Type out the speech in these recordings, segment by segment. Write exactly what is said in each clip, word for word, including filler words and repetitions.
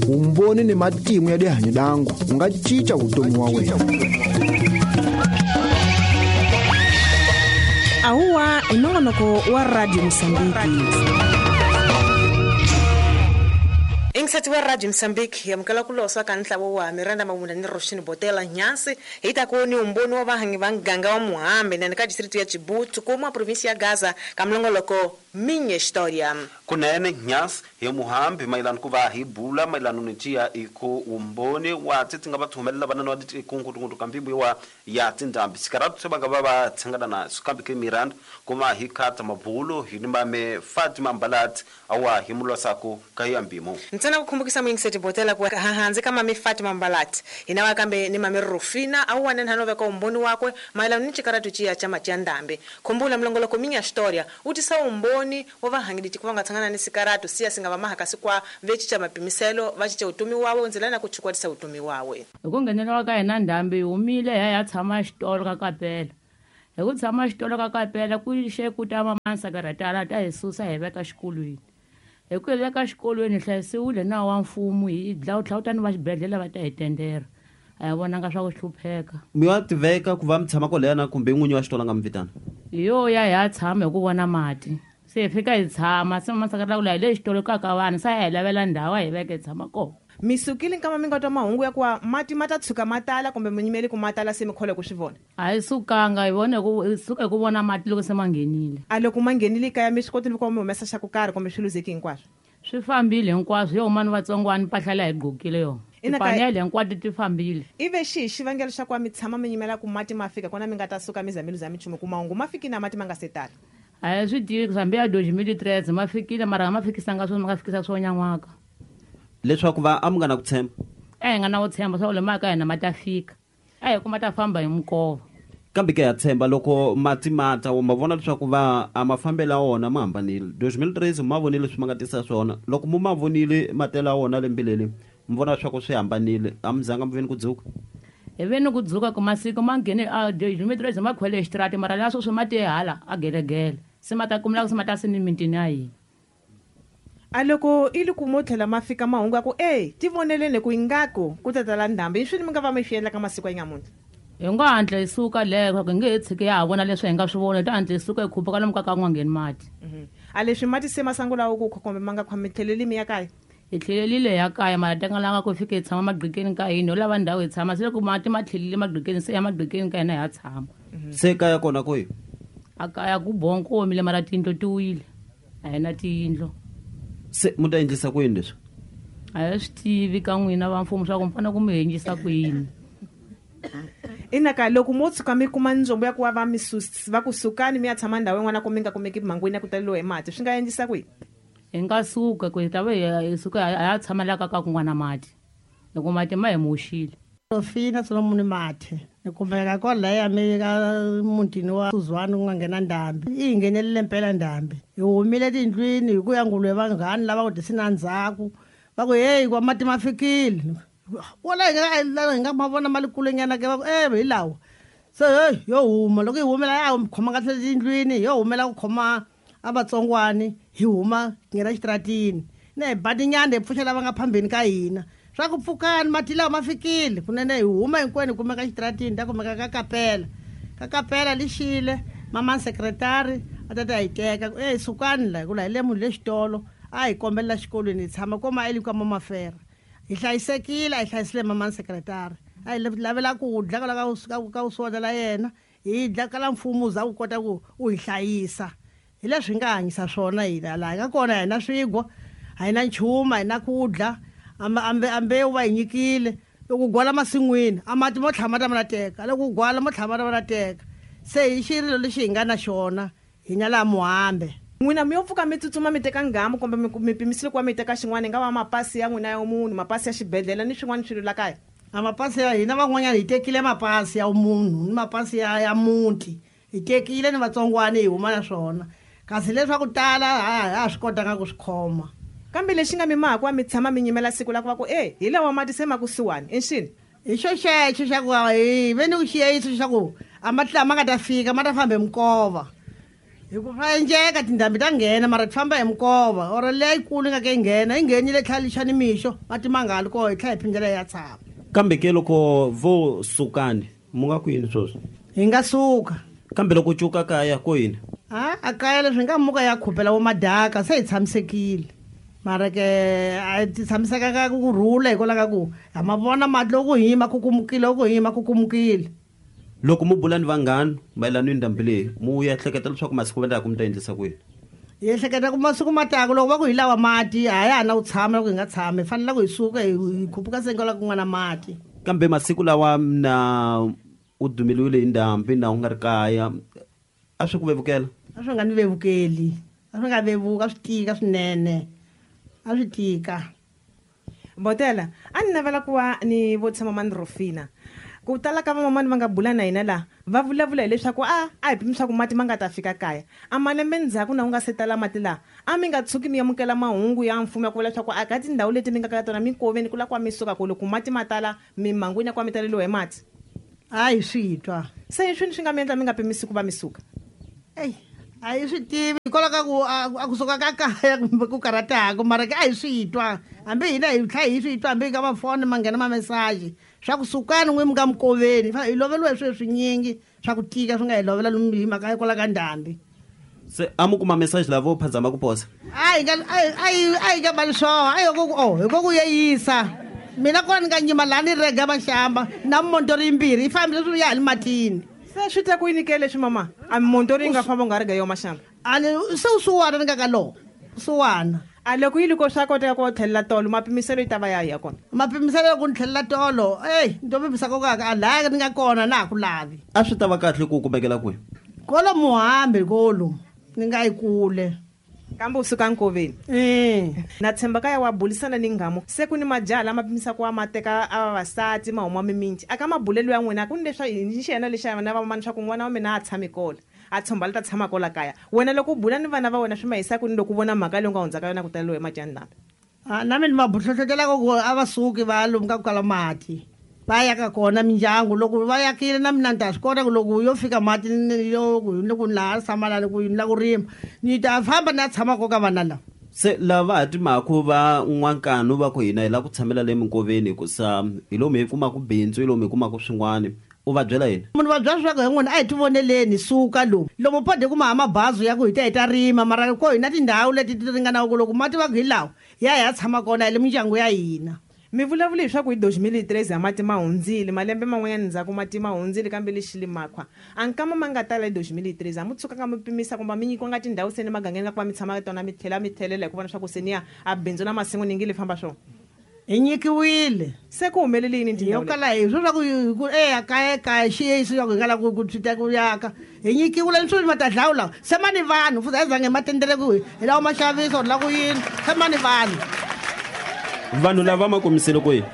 Umboni ni matimu ya dihanyo dangu unga cinca vutomi wa wena. Ahuwa i nongonoko wa Radio Mozambique. Ingisati wa Radio Mozambique yamukela ku losa ka ntlavo wa Miranda Mabunda ni Roshini Botela Nyansi hi ta ku ni umboni wa vahangi va nganga wa Muhambe na ka district ya Chibutu kuma province ya Gaza ka mlongoloko Minha História. Kunene Nyansi hi Muhambe mayelana ku va hi bula mayelana ni tiya iko umboni wa tsi nga va thumelela vana wa tikungu kambi wa ya tindambi sikaratu se va nga va va tshangana na kambi ke Miranda kuma hi khata mabulo hi ni mame Fatima Mbalat awa hi mulosako ka yambimo. Ntsena kukumbukisa mwingiseti Botela kwa hahanzi kama mi Fatima Mbalat inawa kambe ni mame Rufina au wanene hanove kwa umboni wakwe mayelana ni chikaratu chia chama cha ndambi. Kumbula mlongoloko Minha História utisa umboni wavahangidi tikuvanga tsangana ni sikaratu siya singava mahakasi kwa vechi cha mapimiselo vachicha utumi wawe nzilana kuchukwatisa utumi wawe. Ukungenelwa ka yena ndambi umile ya ya tshama xitolo ka kapela. Hi ku tshama xitolo ka kapela ku xe ku ta mamansa ta hi susa hi veka xikolweni. Hi ku veka xikolweni hlayisiwile na wa mfumo hi dlawutlawuta ni va xibedhlele va ta hi tendera. A hi vonanga swa ku hlupheka. Mi wa tiveka ku va mi tshama kwalaya kumbe n'winyi wa xitolo nga mi vitana? Hi yo ya hi ya tshama hi ku vona mati. Se hi fika hi tshama se mamasaka ku la hi le xitolo ka ka vanhu se hi lavela ndhawu hi veke hi tshama kona. Mi sukile nkama mi nga twa mahungu ya ku mati ma ta tshuka ma tala kumbe mi nyimeli ku ma tala se mi kholwa ku swi vona? A hi sukanga hi vone ku hi suka hi ku vona mati loko se ma nghenile. A loko ma nghenile kaya mi swi kotile ku mi humesa xa ku karhi kumbe swi luzeki hinkwaswo? Swi fambile hinkwaswo yo huma ni vatsongwana mpahla leyi hi gqokile yona. Tipanele hinkwato ti fambile. Ive xihi xivangelo xa ku mi tshama mi nyimela ku mati ma fika kona mi nga ta suka mi za mi luza minchumu ku mahungu ma fiki na mati ma nga se tala? A hi swi tivi hambi ya dois mil e treze ma fikile mara ma fikisanga swona ma nga fikisa swo nyan'waka. Leswaku va a mi nga na ku tshemba? A hi nga na ku tshemba swa ku le maka hina ma ta fika. A hi ku ma ta famba hi minkova. Kambe ke ya tshemba loko mati ma ta ma vona leswaku va a mafambelo ya wona ma hambanile. dois mil treze ma vonile leswi ma nga tisa swona. Loko mu ma vonile matela ya wona lembe leri mi vona leswaku swi hambanile a mi zanga mi veni ku dzuka? Hi veni ku dzuka ku masiku ma nghene a dois mil treze ma khwele xitrati mara la sweswi ma te hala a gelegele. Se ma ta kumela ku se ma ta se ni mitini ya hina. A loko i loko mo tlhela ma fika mahungu ya ku e ti voneleni ku ingaku ku ta tala ndhambi i swini mi nga va mi swi endla ka masiku ya nyamuntlha? Hi nga hatla hi suka leyo hi nge he tshiki ya ha vona leswi hi nga swi vona hi ta hatla hi suka hi khupuka lomu ka ka ku nga ngheni mati. A leswi mati se ma sungula ku kumbe ma nga khwa mi tlheleli mi ya kaya? Hi tlhelelile ya kaya mara tengalanga ku fika hi tshama magqikeni ka hina ho lava ndhawu hi tshama se loko mati ma tlhelile magqikeni se ya magqikeni ka hina hi ya tshama. Se kaya kona kwihi? A kaya ku bongo omile mara tiyindlu ti wile a hi na tiyindlu. Se mu ta endlisa ku yini leswi? A hi swi tivi ka n'wina va mfumo swa ku mi fanele ku mi endlisa ku yini. Inaka loko mo tshuka mi kuma ndzombo ya ku va mi va ku sukani mi ya tshama ndhawu yin'wana ku mi nga kumeki mhangwini ya ku taleriwa hi mati swi nga endlisa ku yini? Hi nga suka ku hi ta va hi suka hi ya tshama la ka ka kun'wana mati loko mati ma hi moxile. Rofina Solomon Mathe ni kumeka kwalaya mi ka mutini wa Suzwani ku nga nghena ndhambi yi hi nghenelile mpela ndhambi hi humile tindlwini hi ku ya nguluve vanghani lava ku tisina ndzhaku va ku heyi kwa mati ma fikile wala hi nga hi nga ma vona ma le kulenyana ke va ku e hi lawa se heyi yo huma loko hi humela ya khoma kahle tindlwini yo humela ku khoma a vatsongwani hi huma nghena xitaratini na hi batinyana hi pfuxa lava nga phambeni ka hina swa ku pfukani mati lawa ma fikile kunene hi huma hinkwenu hi kumeka xitaratini ta kumeka ka kapela ka kapela lixile mama sekretari a ta ta hi teka e sukani la hi ku la hi le munhu le xitolo a hi kombelela xikolweni hi tshama koma eli ka mamafera hi hlayisekile a hi hlayisile mama sekretari a hi lavela ku dla kwala ka ka uswona la yena hi dla kala mfumo wu za ku kota ku u hi hlayisa hi leswi hi nga hanyisa swona hina laha hi nga kona hi na swigwa a hi na nchumu a hi na ku dla ambe ambe u va hi nyikile loko gwala masin'wini a mati mo tlhama ta ma la teka loko gwala mo tlhama ta ma la teka se hi xirilo lexi hi nga na xona hina laha Muhambe. N'wina mi yo pfuka mi tsutsuma mi teka nghamu kumbe mi pimisile ku va mi teka xin'wana hi nga va mapasi ya n'wina ya munhu mapasi ya xibedhlele ni swin'wana swilo la kaya? A mapasi ya hina van'wanyana hi tekile mapasi ya munhu ni mapasi ya ya muti hi tekile ni vatsongwana hi huma na swona kasi leswaku tala a ha swi kotanga ku swi khoma. Kambe lexi nga mi maha ku va mi tshama mi nyimela siku la ku va ku e hi lawa mati se ma kusuhani i nxini? Hi xo xexo xa ku hi ve ni ku xiyeyiso xa ku a mati lama nga ta fika ma ta famba hi minkova Hi ku swa endleka tindhambi ta nghena mara ti famba hi minkova or leyikulu yi nga ke yi nghena yi nghenile tlhela xa nimixo mati ma nga ha li koho hi tlhela hi phindela hi ya tshama. Kambe ke loko vo sukani mu nga ku yini sweswi? Hi nga suka. Kambe loko cuka kaya ko yini? A a kaya leswi hi nga muka ya khupela vo madaka se hi tshamisekile. Mara ke a ti tshamisekanga ku rhula hikwalaho ka ku ha ma vona mati loko hi ma kukumukile loko hi ma kukumukile. Loko mu bula ni vanghana mayelana ni ndhambi leyi mu ya ehleketa leswaku masiku ma ku mi ta endlisa ku yini? Hi ehleketa ku masiku ma taka loko va ku hi lava mati a ya ha na ku tshama loko hi nga tshami hi fanele ku hi suka hi khupuka sengo la ku nga na mati. Kambe masiku lawa na u dumeliwile hi ndhambi na u nga ri kaya a swi ku vevukela? A swi nga ni vevukeli, a swi nga vevuka, a swi tika swinene, a swi tika. Botela a ni navela ku va ni vo tshama mani Rufina. Ku tala ka vamamani va nga bula na hina laha va vulavula hileswaku a a hi pimisa ku mati ma nga ta fika kaya. A malembe ndzhaku na ku nga se tala mati laha a mi nga tshuki mi amukela mahungu ya mfumo ya ku vula leswaku a ka tindhawu leti mi nga ka tona minkoveni ku la ku mi suka ku loko mati ma tala mimangwini ya ku mi taleliwa hi mati. A hi swi twa. Se hi swini swi nga mi endla mi nga pimisi ku va mi suka? Eyi a hi swi tivi hikwalaho ka ku a kusuka ka kaya kumbe ku karhataka mara ke a hi swi twa hambi hina hi tlhela hi swi twa hambi ka mafoni ma nghena mamesaji swa ku sukani n'wi mi nga mikoveni hi loveliwa hi swilo swinyingi swa ku tika swi nga hi lovela lomu hi mhaka hikwalaho ka ndhambi. Se a mu kuma message lavo phazama ku posa? A hi nga a hi a hi nga mali swona a hi ku oh hi ku yeyisa mina kona ni nga nyima laha ni rega maxamba na motori yimbirhi yi fambile swi ya hi le matini. Se swi ta ku yini ke leswi mama? A motori yi nga famba u nga ri ga yo maxamba? A ni se u suwana ni nga ka lowo suwana. A loko yi loko swa koteka ku tlhelela tolo mapimiselo yi ta va ya ya kona? Mapimiselo ku ni tlhelela tolo eyi ni to pimisa ko ka a laha ni nga kona na ha ku lavi. A swi ta va kahle ku kumekela kwihi? Kolo Muhambi kolo ni nga yi kule. Kambe u suka nkoveni. Eh. Na tshemba kaya wa bulisana ni nghamu se ku ni majaha lama pimisa ku wa ma teka a vavasati ma huma miminti aka mabulelo ya n'wina ku ni leswa ni xi yena lexa vana va mani swa ku n'wana wa mina a tshami kona a tshomba la ta tshama kola kaya wena loko u bula ni vana va wena swi ma yisa ku ni loko u vona mhaka leyi u nga hundzaka yona ku taleliwa hi mati ya ndhambi? A na mina ma hlohlotelaka ku a va suki va lomu ka ku kala mati va yaka kona mindyangu loko va yakile na mina ni ta swi kota ku loko yo fika mati yo loko ni laha tshama la ku ni la ku rima ni ta famba ni ya tshama ko ka vana lava. Se lava ha timhaka va n'wankanu va ku hina hi lava ku tshamela le minkoveni hikusa hi lomu hi kumaka bindzu hi lomu hi kumaka swin'wana u va byela yini? Munhu va byela leswaku hi n'wina a hi tivoneleni suka lomu lomu pode kuma ha mabazi ya ku hi ta hi ta rima mara ko hi na tindhawu leti ti ringanaka ku loko mati va ku hi lawa ya hi ya tshama kona hi le mindyangu ya hina. Mi vulavula leswaku hi dois mil e treze a mati ma hundzile malembe man'wanyana ndzhaku mati ma hundzile kambe lexi limakhwa a nkama ma nga tala hi dois mil e treze a mu tshuka nga mi pimisa kumbe mi nyikiwa nga tindhawu se ni magangeni la ku va mi tshama ka tona mi tlhela mi tlhelela hi ku vona swa ku se ni ya a bindzu na masimu ni nge le famba swona? Hi nyikiwile. Se ku humelele yini tindhawu yo kala hi swo swa ku ku eya kaya kaya xiyesi swa ku hi nga lava ku ku swi ta ku yaka hi nyikiwile ni swilo ma ta dlawula se ma ni vanhu futhi a hi zange ma tendele ku hi lava ma xavisa or la ku yini se ma ni vanhu. Vanhu lava ma komisele ku yini?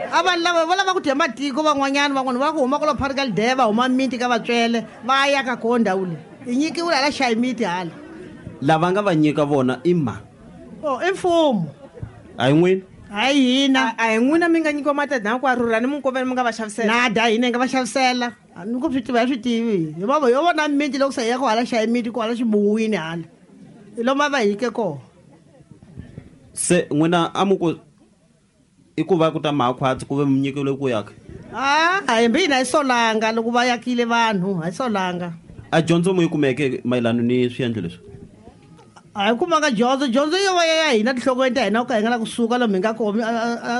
A vanhu lava va lava ku dya matiko van'wanyana van'wana va ku huma kwala phari ka Lideva va huma miti ka Vatswele va ya ka koho ndhawu leyi hi nyikiwile hala xayi miti hala. Lava nga va nyika vona i ma? Oh i mfumo. A hi n'wina? A hi hina. A hi n'wina mi nga nyikiwa matadha ku a rhurha ni minkoveni mi nga va xavisela? Nada hina hi nga va xavisela. A ni ku swi tiva hi swi tivi hi va yo vona miti loko se hi ya ku hala xayi miti ku hala xibuwini hala hi lomu a va hike kona. Se n'wina a mu ku i ku va ku ta makhwatsi ku ve mi nyikile ku yaka? A hambi hina hi solanga loko va yakile vanhu a hi solanga. A dyondzo mu yi kumeke mayelana ni swiendlo leswi? A hi kumanga dyondzo dyondzo yo va ya hina tinhlokweni ta hina ku ka hi nga la kusuka lomu hi nga kona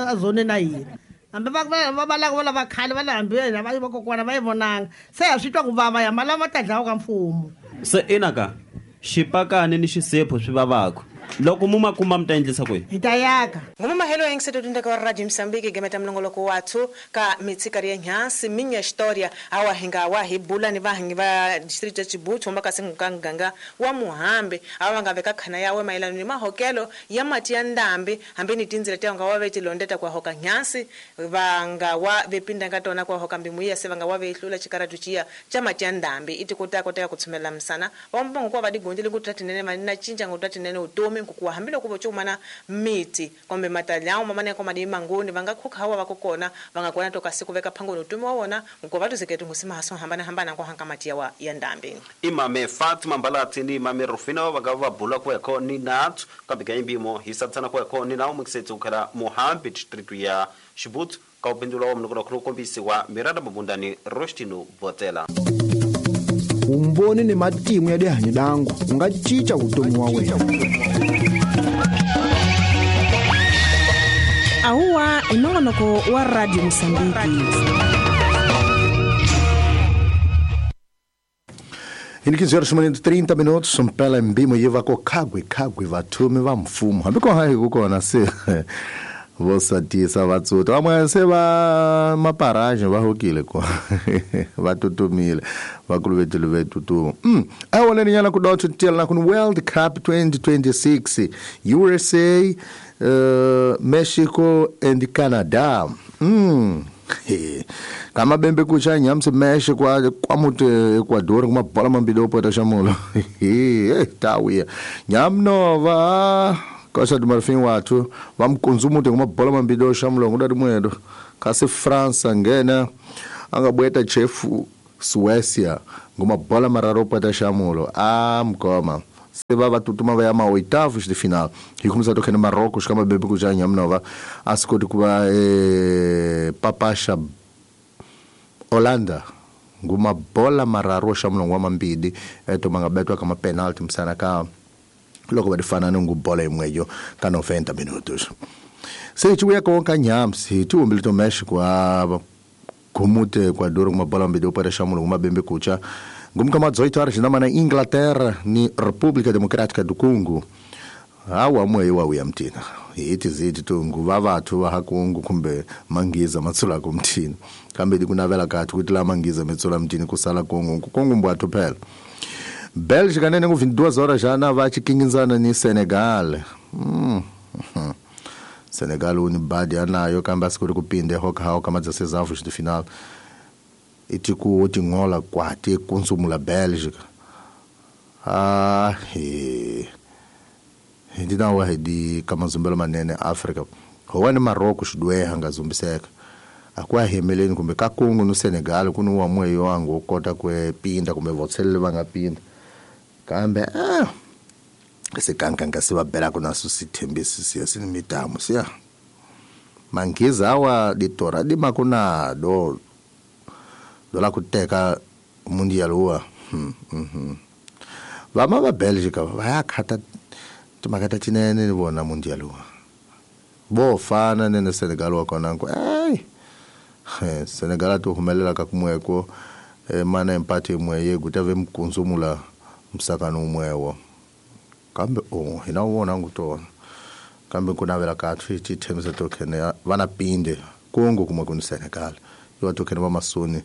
a zoneni na hina hambi va va va lava va lava khale va le hambi hina va vakokwana va yi vonanga se ha swi twa ku vava ya ma lama ta dlawa ka mfumo. Se ina ka xipakani ni xisepho swi vavaka loko mu ma kuma mi ta endlisa ku yini? Hi ta yaka. Ngoma mahelo ya ngiseto tundeka wa Radio Mozambique gemeta mlongoloko wathu ka mitsikari ya nyasi minya historia awa hinga wa hi bula ni vahangi va district ya Chibutu mbaka singukanganga wa Muhambe awa nga veka khana yawe mayelana ni mahokelo ya mati ya ndambi hambi ni tindzela ta nga wa ve tilondeta kwa hoka nyasi vanga wa vepinda nga tona kwa hoka mbimuya se vanga wa ve hlula chikaratu chia cha mati ya ndambi iti kota kota ya kutsumela msana wa mbongo kwa vadigondile ku tatinene manina chinja ngo tatinene utomi. vutomi nkukuwa hambiloko vo cumana miti kumbe matalyawo mamane ko madi mangoni va nga khukhawa va kokona va nga kona toka siku veka phangoni utumi wa wona nkuva va tuzeketi ngusima haso hambana hambana ko hanka mati yawa ya ndambi. Imame Fatima Mbalati ni mame Rufina va nga va bula kweko ni nathu kambe ka imbimo hi satsana kweko ni nawo muksetsi ukhala Muhambi district ya Xibutsu ka upindula wa mnokona khulu kombisiwa Miranda Mabundani Rostino Botela. Umboni ni matimu ya dihanyo dangu unga chicha vutomi wa wena. Ahuwa inongonoko wa Radio Mosambiki. Ini quinze horas e trinta minutos, mpela mbimo yiva ko kagwe kagwe vathume va mfumo. Hambi ko hayi kukona se vosatisa vatsuta vamwe se va maparaje va hokile ko va tutumile va kuluvetile ve tutuma. Mm awoleni nyana ku dotho tiyela na ku World Cup twenty twenty-six U S A, uh, Mexico and Canada. Mm kama bembe kucha nyamsi Mexico kwa kwamuti Ecuador kuma bola mambili opota shamulo. Eh tawiya nyamnova Costa do Marfim watu vamkunzumute kuma bola mambili oshamulo ngudati mwedo kasi France ngena angabweta chefu Suécia nguma bola mararo opota shamulo ah mkoma se va vatutuma va ya ma oitavos de final hi kumisa tokene Marrocos kama bembe kucha nyamnova asikoti kuva eh, papasha Holanda nguma bola mararo shamulo ngwa mambili eto mangabetwa kama penalty msana ka loko va fanana ngubola imweyo ka noventa minutos. Se tiuya konka nyamsi tiumbile to Mexico a kumute Ecuador kuma bola mbili opera shamulo nguma bembe kucha ngumka ma dezoito horas na mana Inglaterra ni República Democrática do Congo. Awa mweyo wa uyamtina iti ziti tu nguva vathu va ha Congo kumbe mangiza matsula kumthina kambe dikunavela kathi kuti la mangiza metsula mthini kusala Congo Congo mbwathu phela. Bélgica nene ku vinte e duas horas já na vai chikinginzana ni Senegal. Mm. Senegal uni badi anayo kamba sikuri kupinde hoka hao kama dezesseis avos de final. Itiku otingola kwati konsumula Bélgica. Ah, he. Ndina wa hedi kama zumbelo manene Africa. Howani Marocos dwe hanga zumbiseka. Akwa hemeleni kumbe ka Congo no Senegal kuno wa mweyo wangu kota kwe pinda kumbe votsele vanga pinda. Kambe ah sekankanka se va bela kuna susithembisi siya sinimitamo siya mangiza awa ditora di makuna do dola kuteka mundial wa hmm mhm vama va Belgica va ya khata timakata tinene ni vona mundial wa bo fana nene Senegal wa kona ku eh Senegal to humelela ka kumweko mana empate imwe gutave mkunzumula msakano umwewo kambe oh hina wona ngutona kambe kunavela kathu ithembiso tokhene vana pinde Congo kumwe kuni Senegal yo tokhene va masoni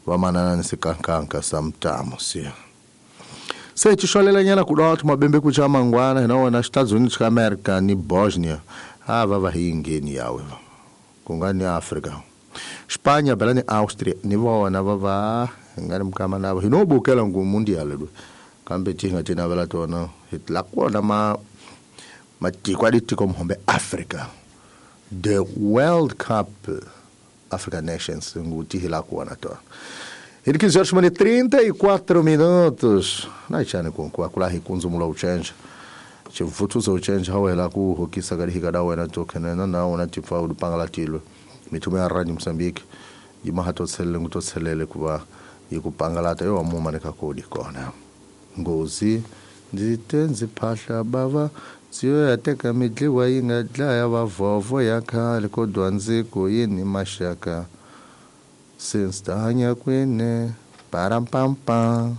va manana ni sikankanka samtamo siya se tixolela nyana ku dotho mabembe kucha mangwana hina wona Estados Unidos ka America ni Bosnia ava va hingeni yawe kungani Africa Espanha bela ni Austria ni vona va va ngani mukama navo hino bukela ngu mundial lo kambe tinga tina vela tona hitla kona ma matiko a ditiko mhombe Africa the World Cup Africa Nations nguti hila kona tona Ele quinze horas e trinta e quatro minutos na chane com com akula hikunzumula uchenja chivutuza uchenja hawela ku hokisa kali hikada wena tokene na na ona tifa udipangala tilo mitume ya Radio Mozambique yimahatotselele ngutotselele kuba yikupangalata yo amuma nekakodi kona ngozi nditenzi phahla bava siyo yateka midliwa yi nga dlaya vavovo ya khale kodwa ndziko yini maxaka since tanya kwene parampampa.